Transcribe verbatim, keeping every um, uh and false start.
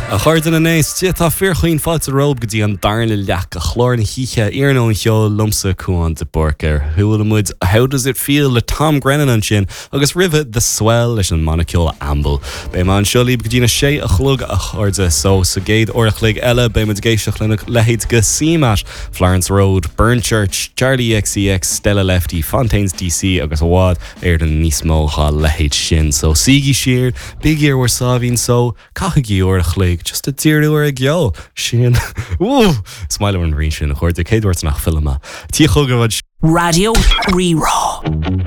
A chairde na n-éist tá fíorchaoin fáilte romhaibh go dtí an darna leath de chlár na hoíche Iarnóin Cheoil liomsa Cuán de Búrca. Chuala muid How Does It Feel le Tom Grennan ansin agus roimhe The Swell leis an mbanna ceoil Amble. Beidh mé anseo libh go dtína sé a chlog a chairde so sa gcéad uair a chloig eile beidh muid ag éisteacht lena leithéid de CMAT, Florence Road, Burnchurch, Charli XCX, Stella Lefty, Fontaines DC agus i bhfad Éireann níos mó dá leithéid sin so suígí siar, bígí ar bhur sáimhín só, caithigí uair a chloig just a díriú ar an gceol sin Is maith an rí sin a chuirde céadúirt nach filma. Tí chugadh Raidió Rí-Rá.